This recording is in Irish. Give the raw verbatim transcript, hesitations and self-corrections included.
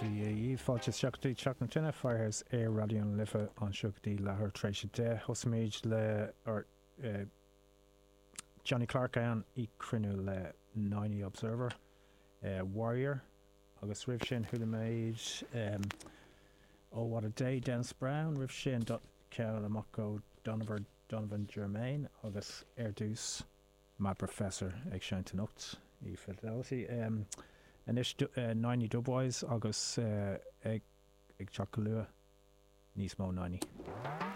Dia fáilte isteach go Teach na Tine Firehouse ar Raidió na Life anseo go dtí leathuair tar éis a deich Thosaigh le ar uh, Johnny Clarke ann i cruinniú le Niney Observer uh, Warrior agus roimh sin chuala muid um, Oh What a Day Dennis Brown roimh sin ceann amach ó Donovan Donovan Germain agus ar dtús Mad Professor ag seinnt anocht i Fidelity. Um, Anois uh, Niney Dubwise agus uh, ag ag teacht go luath níos mó Niney.